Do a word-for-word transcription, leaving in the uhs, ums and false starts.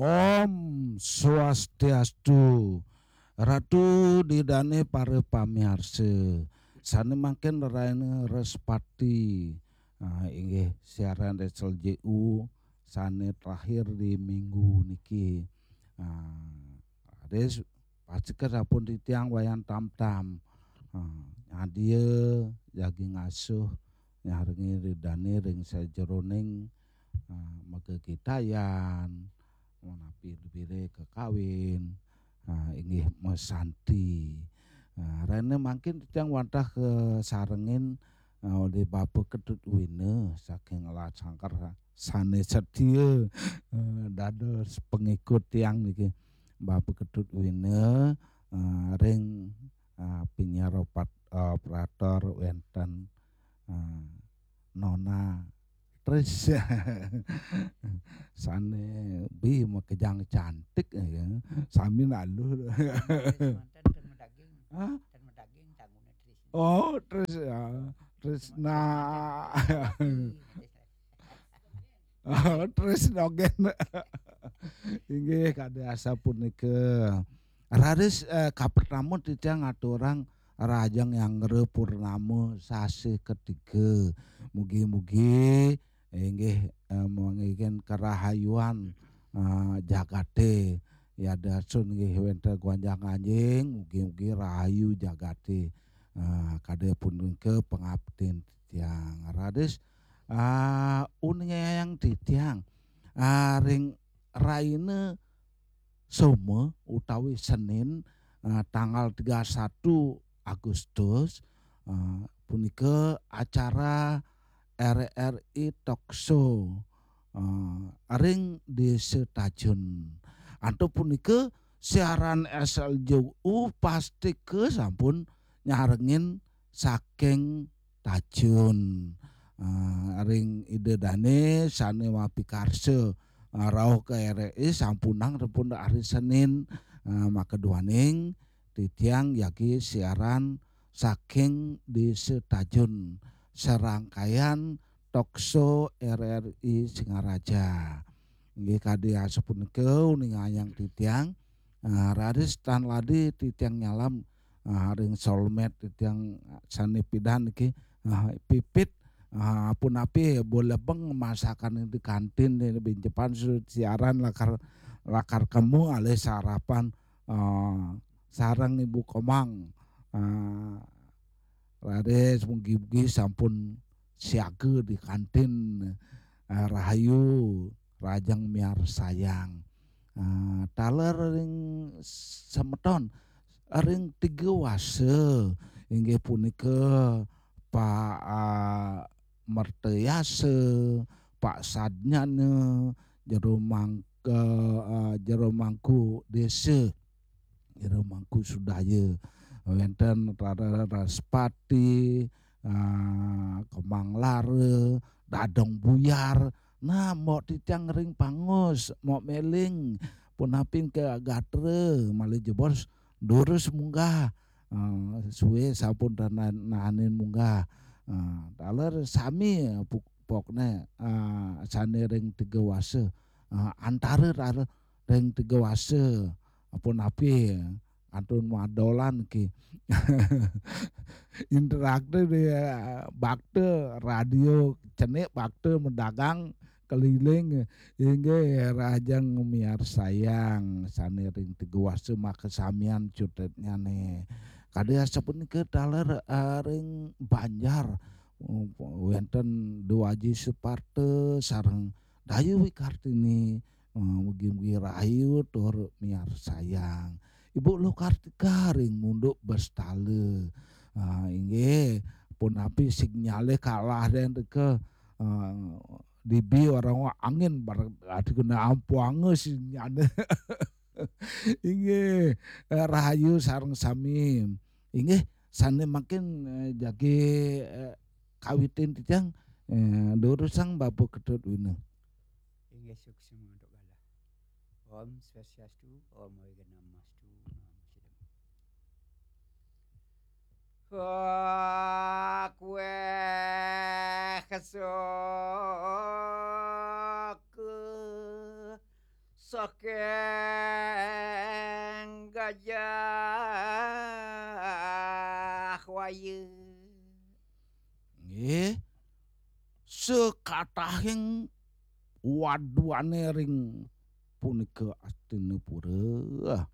Om Swastiastu. Ratu Ida dané para pamiarsa. Sané mangkin raina Respati. Ah, inggih siaran S L J U sané terakhir di minggu niki. Ah, raris pastika sampun titiang Wayan Tamtam. Ah, nyadia jagi ngasuh nyarengin Ida dané ring sajeroning, ah, magegitayan, punapi lebire kekawin, ah, inggih masanti. Ah, raina mangkin titiang wantah kasarengin, ah, olih Bapa Ketut Wina saking Lasangker sané setia, ah, dados pengikut tiang niki. Bapa Ketut Wina, ah, ring, ah, penyiar opat-, ah, operator wénten, ah, Nona Tris. Sané bi makejang cantik, ya. Sami naluh. Tris manten ten medaging. Hah? Ten medaging tanggungnya Tris. Oh, Tris, ya. Trisna. Trisna. Oh, Trisna gén. Inggih, kadi asapunika. Raris, eh, kapertama titiang ngaturang Rahajeng Nyanggra Purnama sasih ketiga. Mugi-mugi inggih, eh, manggihin karahayuan, eh, jagaté. Yadiastun inggih wénten gonjang-ganjing, mugi-mugi rahayu jagaté. Eh, kadi punika pangaptin titiang. Raris, ah, uningayang titiang, ah, ring raina Soma utawi Senin, ah, tanggal tiga satu Agustus, ah, punika acara R R I Talk Show, ah, ring Desa Tajun. Antuk punika siaran S L J U pastika sampun nyarengin saking Tajun. Ah, ring Ida dané sané mapikarsa, ah, rauh ka R R I sampunang sampun hari Senin, ah, makaduaning titiang jagi siaran saking Desa Tajun, serangkaian talk show R R I Singaraja. Inggih kadi asapunika uningayang titiang, ah, raris tan ladi titiang nyalam, ah, ring Solmed titiang sané pidan niki, ah, pipit, ah, punapi bo lebeng masakan di kantin di bincepan su-, siaran lakar, lakar kemu alih sarapan, ah, sareng Ibu Komang. Ah, raris mugi-mugi sampun siaga di kantin. Ah, rahayu, rahajeng miarsayang. Ah, taler ring semeton, ring tiga wasa, inggih punika Pak, ah, Mertayasa, Pak Sadnyana, Jero Mangka, ah, Jero Mangku Desa, Jero Mangku Sudaya, wénten Rara Raspati, ah, Kemang Lara, Dadong Buyar. Nah, mok titiang ring pangus, mok méling, punapi ké gatra, malih jebos durus munggah. Ah, sué sampun tana-, nahanin munggah. Ah, taler sami puk-, pokné, ah, sané ring tiga wasa. Ah, antara rara ring tiga wasa. Punapi kantun madolan ki. Interaktif di, eh, bakta radio cenik, bakta medagang keliling, inggih rahajeng miarsayang sané ring tiga wasa makasamian cutetnyané. Kadi asapunika taler, eh, ring Banjar, eh, wénten Déwa Aji Suparta sareng Dayu Wikartini, eh, mugi-mugi rahayu tur miarsayang. Ibu Luh Kartika ring Munduk Bestala. Ah, inggih, punapi sinyalé kalah dén teka, eh, dibi orang angin bar-, ati kena ampuanga sinyalé. Inggih, eh, rahayu sareng sami. Inggih, sané mangkin, eh, jagi, eh, kawitin titiang, eh, durusang Bapa Ketut Wina. Inggih, suksma untuk galah. Om Swastiastu, Om Awighnamastu, Namo Siddham. Wah, kuéh kesok. saking Gajah Waya. Nggih, sekatahing waduane ring punika Astinapura.